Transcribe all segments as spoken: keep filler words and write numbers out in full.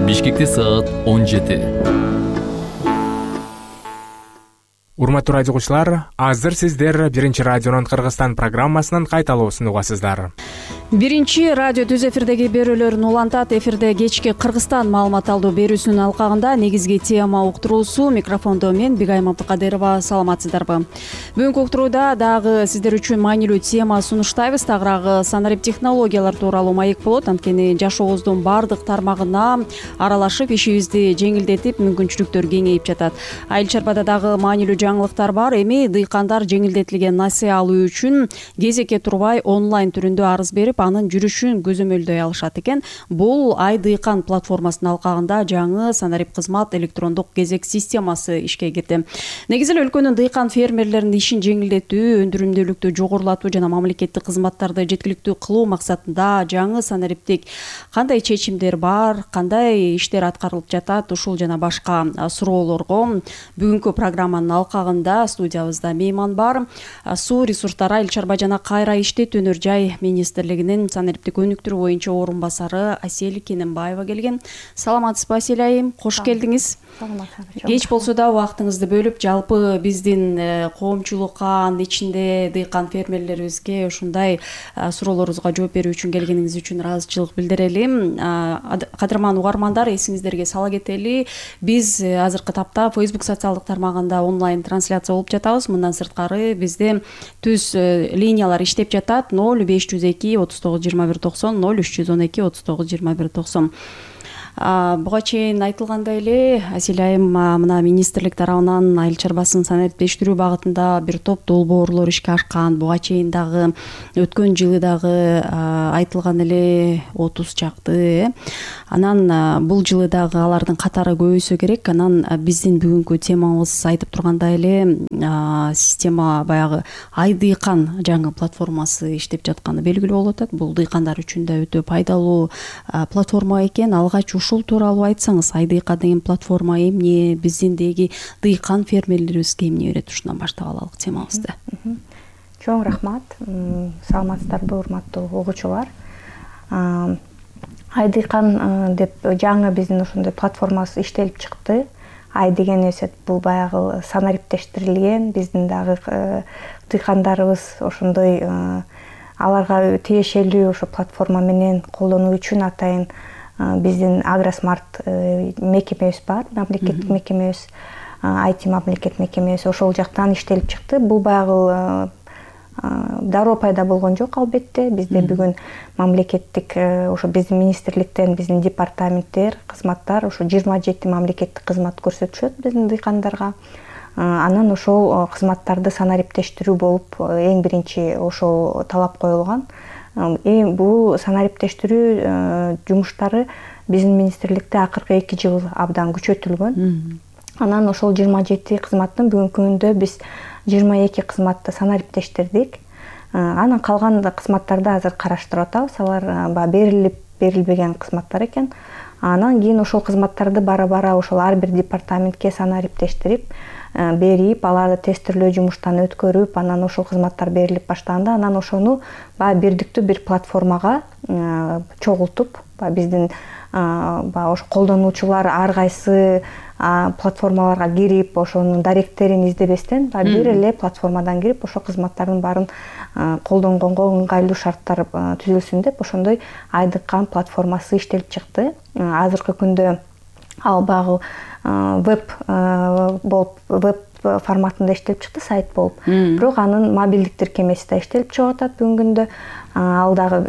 Бишкекте саат он жети. Урматтуу радио угуучулар, азыр сиздер Биринчи радионун Кыргызстан программасынын кайталоосун угасыздар. Биринчи радио түз эфирдеги берүүлөрүн улантат. Эфирде кечки Кыргызстан маалымат алуу берүүсүнүн алкагында негизги тема уктуруусу. Микрофондо мен Бигайым Абдыкадырова. Саламатсыздарбы? Бүгүнкү уктурууда дагы сиздер үчүн маанилүү тема сунуштайбыз. Тагыраагы санарип технологиялар тууралуу маек болот. Анткени жашообуздун баардык тармагына аралашып, ишибизди жеңилдетип, мүмкүнчүлүктөр кеңейип жатат. Айыл чарбада дагы маанилүү жаңылыктар бар. Эми дыйкандар жеңилдетилген насыя алуу үчүн кезекке турбай онлайн түрүндө арыз берип, анын жүрүшүн көзөмөлдөй алышат экен. Бул Ай дыйкан платформасынын алкагында жаңы санарип кызмат электрондук кезек системасы ишке кирди. Негизи эле өлкөнүн дыйкан фермерлеринин ишин жеңилдетүү, өндүрүмдүүлүктү жогорулатуу жана мамлекеттик кызматтарды жеткиликтүү кылуу максатында жаңы санариптик кандай чечимдер бар, кандай иштер аткарылып жатат, ушул жана башка суроолорго бүгүнкү программанын алкагында студиябызда мейман бар. Суу ресурстары, айыл чарба жана кайра иштетүү өнөр жай министрлигинин санариптик өнүктүрүү боюнча орун басары Асель Кененбаева келген. Саламатсызбы, Асель айым? Кош келдиңиз. Кеч болсо да убактыңызды бөлүп, жалпы биздин коомчулукка, анын ичинде дыйкан фермерлерибизге ушундай суроолорубузга жооп берүү үчүн келгениңиз үчүн ыраазычылык билдирели. Кадырман угармандар, эсиңиздерге сала кетели, биз азыркы тапта Facebook социалдык тармагында онлайн трансляция болуп жатабыз. Мындан сырткары бизде түз линиялар иштеп жатат. ноль беш жүз эки отуз тогуз жыйырма бир токсон, ноль үч жүз он эки отуз тогуз жыйырма бир токсон. Буга чейин айтылгандай эле, Асель айым, мына министрлик тарабынан айыл чарбасын санариптештирүү багытында бир топ долбоорлор ишке ашкан. Буга чейин дагы өткөн жылы дагы айтылган эле отуз чакты, э. Анан бул жылы дагы алардын катары көбөйсө керек. Анан биздин бүгүнкү темабыз айтып тургандай эле система баягы Ай дыйкан жаңы платформасы иштеп жатканы белгилүү болуп атат. Бул дыйкандар үчүн да өтө пайдалуу платформа экен. Алгач ушул тууралуу айтсаңыз, Ай дыйкан деген платформа эмне, биздиндеги дыйкан фермерлерибизге эмне берет? Ушундан баштап алалык темабызды. Чоң рахмат. Саламатсыздарбы, урматтуу угуучулар? Ай дыйкан деп жаңы биздин ошондой платформасы иштелип чыкты. Ай деген эсет бул баягы санариптештирилген, биздин дагы дыйкандарыбыз ошондой аларга тиешелүү ошо платформа менен колдонуу үчүн атайын биздин Агросмарт мекемебиз бар, мамлекеттик мекемебиз, ай ти мамлекет мекемебиз ошол жактан иштелип чыкты. Бул баягы дароо пайда болгон жок, албетте. Бизде бүгүн мамлекеттик ошо биздин министрликтен, биздин департаменттер, кызматтар ошо жыйырма жети мамлекеттик кызмат көрсөтүшөт биздин дыйкандарга. Анан ошол кызматтарды санариптештирүү болуп эң биринчи ошол талап коюлган. Эми бул санариптештирүү жумуштары биздин министрликте акыркы эки жыл абдан күчөтүлгөн. Анан ошол жыйырма жети кызматтын бүгүнкү күндө биз жыйырма эки кызматты санариптештирдик. Анан калган кызматтарды азыр караштырып атабыз. Алар берилип берилбеген кызматтар экен. Анан кийин ошол кызматтарды бара-бара ошол ар бир департаментке санариптештирип берип, аларды тестирлөө жумуштан өткөрүп, анан ошол кызматтар берилип баштаганда, анан ошону баягы бирдиктүү бир платформага чогултуп, биздин баягы ошо колдонуучулар ар кайсы платформаларга кирип, ошонун даректерин издебестен, бир эле платформадан кирип, ошол кызматтардын баарын колдонгонго ыңгайлуу шарттар түзүлсүн деп, ошондой Ай дыйкан платформасы иштелип чыкты. Азыркы күндө ал баягы веб болуп, веб форматында иштелип чыкты, сайт болуп. Бирок анын мобилдик тиркемеси да иштелип чыгып атат бүгүнкү күндө. Ал дагы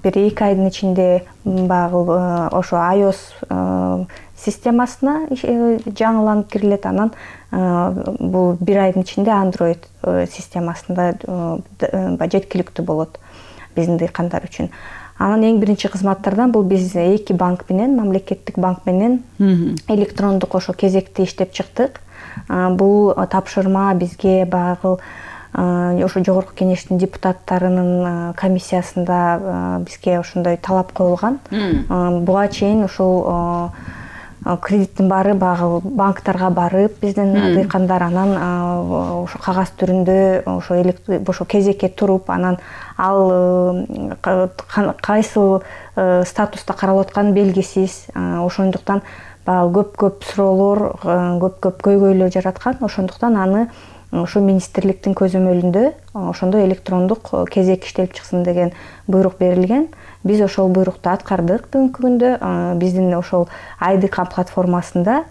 бир эки айдын ичинде баягы ошо iOS системасына жаңыланып кирилет. Анан бул бир айдын ичинде Android системасында жеткиликтүү болот биздин дыйкандар үчүн. Анан эң биринчи кызматтардан бул биз эки банк менен, мамлекеттик банк менен электрондук ошо кезекти иштеп чыктык. Бул тапшырма бизге баягы ошо жогорку кеңештин депутаттарынын комиссиясында бизге ошондой талап коюлган. Буга чейин ушул кредиттин баары баягы банктарга барып биздин дыйкандар анан ошо кагаз түрүндө ошо ошо кезекке туруп анан ал кайсыл статуста каралып атканы белгисиз, ошондуктан баягы көп көп суроолор, көп көп көйгөйлөр жараткан. Ошондуктан аны ошо министрликтин көзөмөлүндө ошондой электрондук кезек иштелип чыксын деген буйрук берилген. Биз ошол буйрукту аткардык бүгүнкү күндө. Биздин ошол Айдыкан платформасында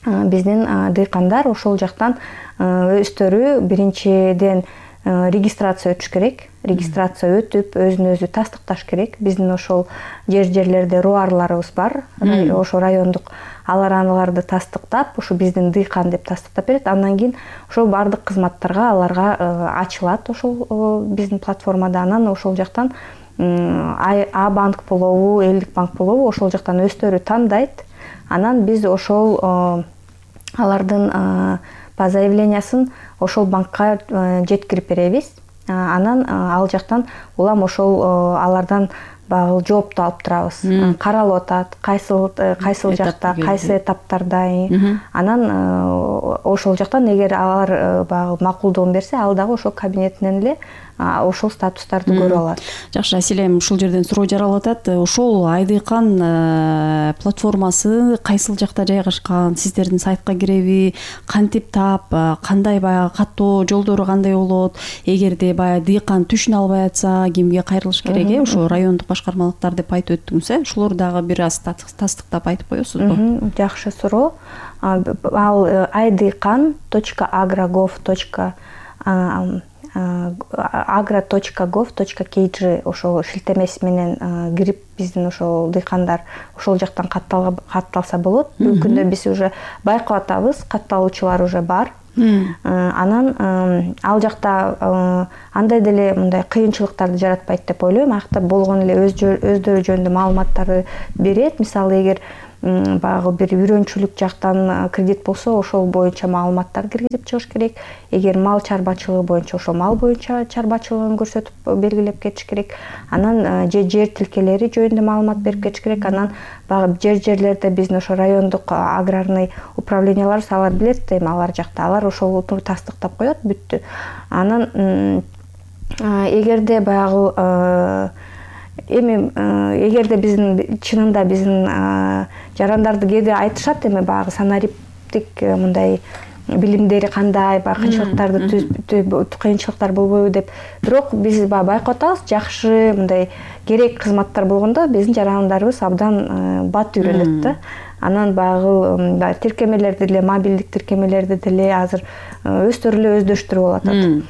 биздин дыйкандар ошол жактан өздөрү биринчиден регистрация өтүш керек. Регистрация өтүп, өзүн өзү тастыкташ керек. Биздин ошол жер жерлерде руарларыбыз бар, ошо райондук. Алар аналарды тастыктап, ошо биздин дыйкан деп тастыктап берет. Андан кийин ошол бардык кызматтарга аларга ачылат ошол биздин платформада. Анан ошол жактан А банк болобу, элдик банк болобу, ошол жактан өздөрү тандайт. Анан биз ошол алардын по заявлениясын ошол банкка жеткирип беребиз. Анан ал жактан улам ошол алардан багы жоопту алып турабыз. Каралып атат, кайсыл кайсыл жакта, кайсы этаптарда. Анан ошол жактан эгер алар багы макулдугун берсе, ал дагы ошол кабинетинен эле ошол статустарды көрүп алат. Жакшы, Аселем, ушул жерден суроо жаралып атат. Ошол Айдыкан платформасы кайсыл жакта жайгашкан? Сиздердин сайтка киреби? Кантип таап, кандай баягы каттоо жолдору кандай болот? Эгерде баягы дыйкан түшүнө албай атса, кимге кайрылыш керек? Э, ошо райондук башкармалыктар деп айтып өттүңүз, э? Ушулорду дагы бир аз тастыктап айтып коесузбу? Жакшы суроо. Ал айдыкан точка агро точка гов точка агро точка гов точка кей джи ошол шилтемеси менен кирип биздин ошол дыйкандар ошол жактан катталса болот. Бүгүнкү күндө биз уже байкап атабыз, катталуучулар уже бар. Анан ал жакта андай деле мындай кыйынчылыктарды жаратпайт деп ойлойм. Акта болгон эле өздөрү жөнүндө маалыматтарды берет. Мисалы, эгер баягы бир үйрөнчүлүк жактан кредит болсо, ошол боюнча маалыматтарды киргизип чыгыш керек. Эгер мал чарбачылыгы боюнча, ошол мал боюнча чарбачылыгын көрсөтүп белгилеп кетиш керек. Анан же жер тилкелери жөнүндө маалымат берип кетиш керек. Анан баягы жер жерлерде биздин ошо райондук аграрный управлениялар алар билет, эми алар жакта алар ошолду тастыктап коет, бүттү. Анан эгерде баягы эми эгерде биздин чынында биздин жарандарды кээде айтышат, эми баягы санариптик мындай билимдери кандай, баягы кыйынчылыктарды кыйынчылыктар болбойбу деп. Бирок биз баягы байкап атабыз, жакшы мындай керек кызматтар болгондо биздин жарандарыбыз абдан бат үйрөнөт да. Анан баягы тиркемелерди деле, мобилдик тиркемелерди деле азыр өздөрү эле өздөштүрүп алатат.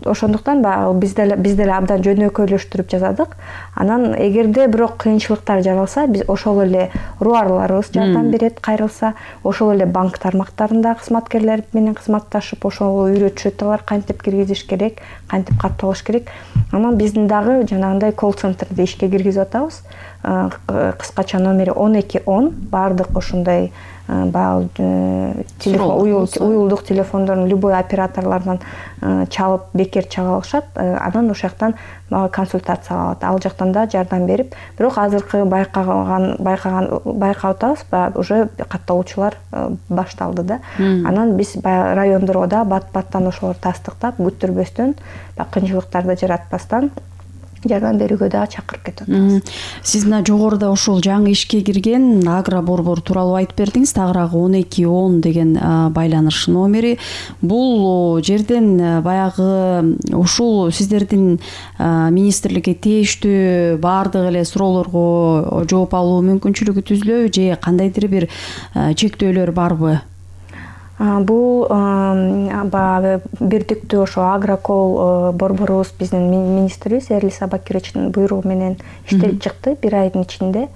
Ошондуктан баягы биз деле биз деле абдан жөнөкөйлөштүрүп жазадык. Анан эгерде бирок кыйынчылыктар жаралса, биз ошол эле руарларыбыз жардам берет, кайрылса, ошол эле банк тармактарында кызматкерлер менен кызматташып, ошол үйрөтүшөт, алар кантип киргизиш керек, кантип катталыш керек. Анан биздин дагы жанагындай колл-центрди ишке киргизип атабыз. Кыскача номери он эки он, бардык ошондой баягы телефон, уюлдук телефондордон любой операторлордон чалып, бекер чала алышат. Анан ошол жактан консультация алат. Ал жактан да жардам берип, бирок азыркы байкаган байкаган байкап атабыз, уже катталуучулар башталды да. Анан биз райондорго да бат-баттан ошолорду тастыктап, күттүрбөстөн, кыйынчылыктарды жаратпастан жардам берүүгө дагы чакырып кетип атабыз. Сиз мына жогоруда ушул жаңы ишке кирген Агро борбор тууралуу айтып бердиңиз. Тагыраагы он эки он деген байланыш номери. Бул жерден баягы ушул сиздердин министрликке тийиштүү баардык эле суроолорго жооп алуу мүмкүнчүлүгү түзүлөбү же кандайдыр бир чектөөлөр барбы? Бул баягы бирдиктүү ошо Агрокол борборубуз биздин министрибиз Эрлис Абакировичтин буйругу менен иштелип чыкты бир айдын ичинде.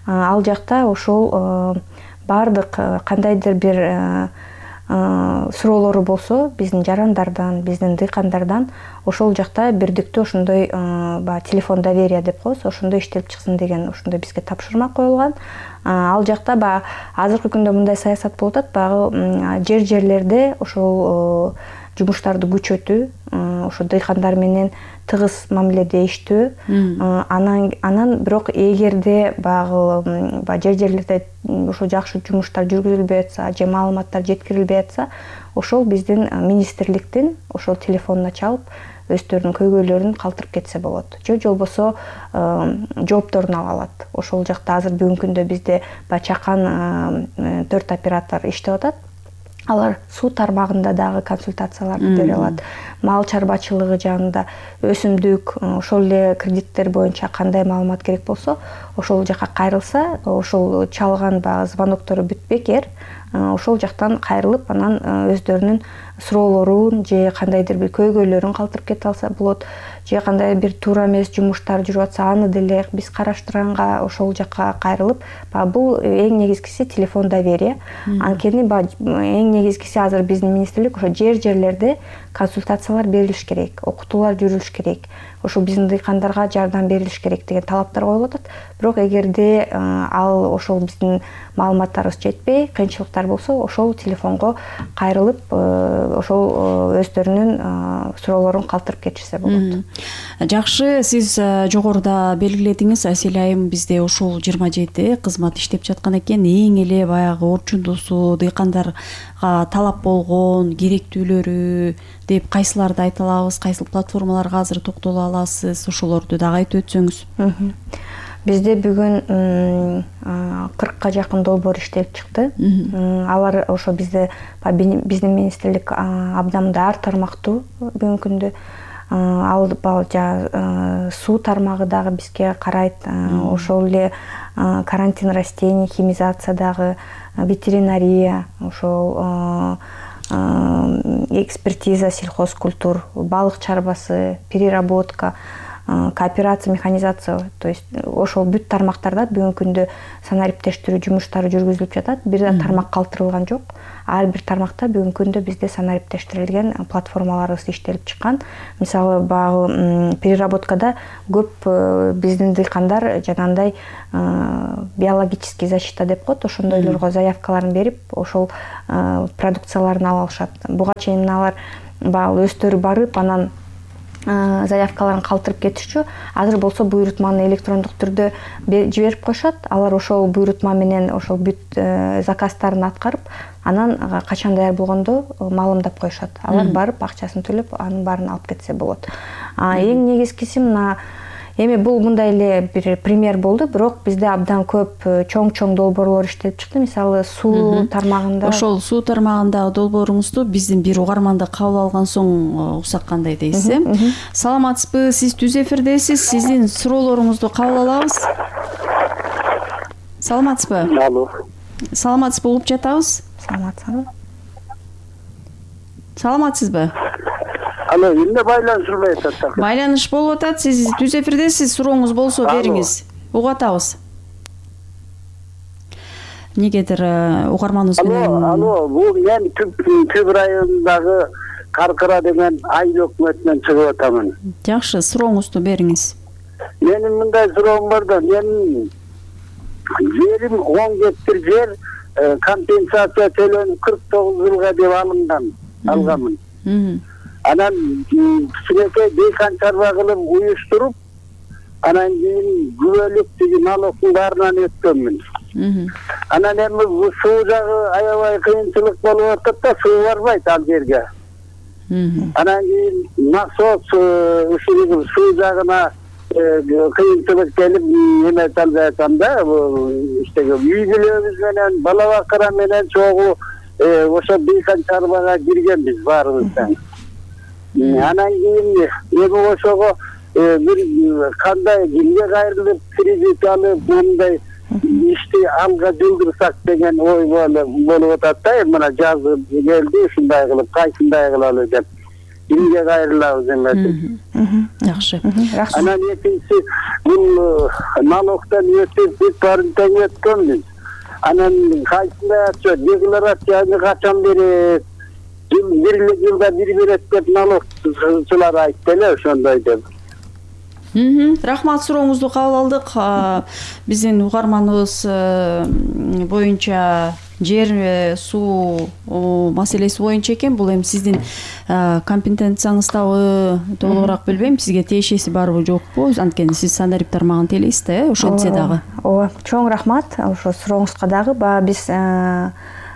Ал жакта ошол бардык кандайдыр бир суроолору болсо биздин жарандардан, биздин дыйкандардан ошол жакта бирдиктүү ошондой баягы телефон доверия деп коебуз, ошондой иштелип чыксын деген ошондой бизге тапшырма коюлган. Ал жакта баягы азыркы күндө мындай саясат болуп атат, баягы жер жерлерде ошол жумуштарды күчөтүү, ошо дыйкандар менен тыгыз мамиледе иштөө, анан анан бирок эгерде баягы баягы жер жерлерде ошо жакшы жумуштар жүргүзүлбөй атса же маалыматтар жеткирилбей атса, ошол биздин министрликтин ошол телефонуна чалып өздөрүнүн көйгөйлөрүн калтырып кетсе болот, же болбосо жоопторун ала алат. Ошол жакта азыр бүгүнкү күндө бизде баягы чакан төрт оператор иштеп атат. Алар суу тармагында дагы консультацияларды бере алат. Мал чарбачылыгы жагында, өсүмдүк, ошол эле кредиттер боюнча кандай маалымат керек болсо, ошол жака кайрылса, ошол чалган баягы звоноктору бүтпекер, ошол жактан кайрылып, анан өздөрүнүн суроолорун же кандайдыр бир көйгөйлөрүн калтырып кете алса болот, же кандай бир туура эмес жумуштар жүрүп атса, аны деле биз караштырганга ошол жакка кайрылып, баягы бул эң негизгиси телефон доверия. Анткени эң негизгиси азыр биздин министрлик ошо жер жерлерде консультациялар берилиш керек, окутуулар жүрүлүш керек, ошо биздин дыйкандарга жардам берилиш керек деген талаптар коюлуп атат. Бирок эгерде ал ошол биздин маалыматтарыбыз жетпей, кыйынчылыктар болсо, ошол телефонго кайрылып, ошол өздөрүнүн суроолорун калтырып кетишсе болот. Жакшы, сиз жогоруда белгиледиңиз, Асель айым, бизде ушул жыйырма жети кызмат иштеп жаткан экен. Эң эле баягы орчундуусу, дыйкандарга талап болгон керектүүлөрү деп кайсыларды айта алабыз, кайсыл платформаларга азыр токтоло аласыз, ошолорду дагы айтып өтсөңүз. Бизде бүгүн кыркка жакын долбоор иштелип чыкты. Алар ошо бизде биздин министрлик абдамда ар тармактуу бүгүнкү күндө. Ал баягы суу тармагы дагы бизге карайт, ошол эле карантин растений, химизация дагы, ветеринария, ошол экспертиза сельхозкультур, балык чарбасы, переработка, кооперация, механизация, то есть ошол бүт тармактарда бүгүнкү күндө санариптештирүү жумуштары жүргүзүлүп жатат. Бир да тармак калтырылган жок. Ар бир тармакта бүгүнкү күндө бизде санариптештирилген платформаларыбыз иштелип чыккан. Мисалы, баягы переработкада көп биздин дыйкандар жанагындай биологический защита деп коет, ошондойлорго заявкаларын берип, ошол продукцияларын ала алышат. Буга чейин алар баягы өздөрү барып, анан заявкаларын калтырып кетишчү. Азыр болсо буйрутманы электрондук түрдө жиберип коюшат. Алар ошол буйрутма менен ошол бүт заказдарын аткарып, анан качан даяр болгондо маалымдап коюшат. Алар барып акчасын төлөп, анын баарын алып кетсе болот. Эң негизгиси мына эми бул мындай эле бир пример болду, бирок бизде абдан көп чоң-чоң долбоорлор иштелип чыкты. Мисалы, суу тармагында. Ошол суу тармагындагы долбооруңузду биздин бир угарманды кабыл алган соң уксак кандай дейсиз, э? Саламатсызбы? Сиз түз эфирдесиз. Сиздин суроолоруңузду кабыл алабыз. Саламатсызбы? Алло. Саламатсызбы? Угуп жатабыз. Саламатсызбы? Саламатсызбы? Алло, эмне байланышылбай атат? Байланыш болуп атат. Сиз түз эфирдесиз. Сурооңуз болсо бериңиз. Угуп атабыз. Негедир угарманыбыз менен. Алло, алло, бул мен Түп районундагы Каркыра деген айыл өкмөтүнөн чыгып атамын. Жакшы, сурооңузду бериңиз. Менин мындай суроом бар да, менин жерим он гектар жер компенсация төлөнүп кырк тогуз жылга деп алынган, алганмын. Анан кичинекей дыйкан чарба кылып уюштуруп, анан кийин күбөлүк тиги налогдун баарынан өткөнмүн. Анан эми бул суу жагы аябай кыйынчылык болуп атат да, суу барбайт ал жерге. Анан кийин насос ушул суу жагына кыйынчылык келип эме албай атам да, иштеги үй бүлөбүз менен, бала бакыра менен чогуу ошо дыйкан чарбага киргенбиз баарыбыздан. Анан кийин эми ошого бир кандай кимге кайрылып кредит алып, мындай ишти алга жылдырсак деген ой болуп атат да. Мына жаз келди, ушундай кылып кайсындай кылалы деп кимге кайрылабыз эми. Жакшы. Анан экинчи бул налогдон өтүп бүт баарын тең өткөнбүз. Анан кайсындай отчет, декларацияны качан берет? Бир жылда бир берет деп налогчулар айтты эле, ошондой деп. Рахмат, сурооңузду кабыл алдык. Биздин угарманыбыз боюнча жер суу маселеси боюнча экен. Бул эми сиздин компетенцияңыздабы толугураак билбейм, сизге тиешеси барбы жокпу? Анткени сиз санарип тармагын тейлейсиз да, э, ошентсе дагы. Ооба, чоң рахмат ошо сурооңузга дагы. Баягы биз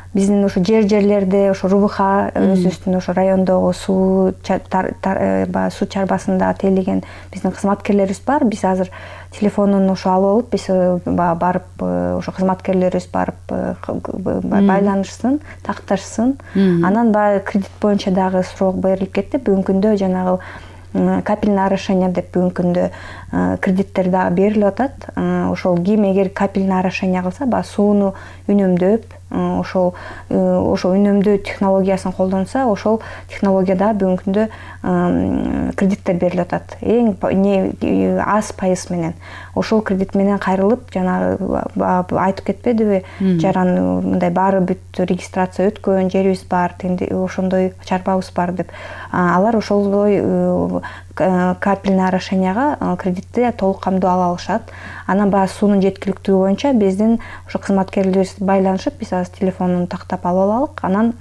биздин ошо жер жерлерде ошо РУБХ өзүбүздүн ошо райондогу суу баягы суу чарбасында тейлеген биздин кызматкерлерибиз бар. Биз азыр телефонун ошо алып алып, биз баягы барып ошо кызматкерлерибиз барып байланышсын, такташсын. Анан баягы кредит боюнча дагы суроо берилип кетти. Бүгүнкү күндө жанагы капельное орошение деп бүгүнкү күндө кредиттер дагы берилип атат. Ошол ким эгер капельное орошение кылса, баягы сууну үнөмдөп, ошол ошо үнөмдөө технологиясын колдонсо, ошол технология дагы бүгүнкү күндө кредиттер берилип атат. Эң аз пайыз менен. Ошол кредит менен кайрылып, жанагы айтып кетпедиби, жаран мындай баары бүт регистрация өткөн жерибиз бар, ошондой чарбабыз бар деп. Алар ошолдой капельное орошенияга кредитти толук камдоо ала алышат. Анан баягы суунун жеткиликтүүлүгү боюнча биздин ошо кызматкерлерибиз байланышып, биз азыр телефонун тактап алып алалык. Анан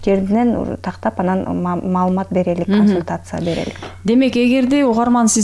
жеринен тактап, анан маалымат берелик, консультация берелик. Демек, эгерде угарман сиз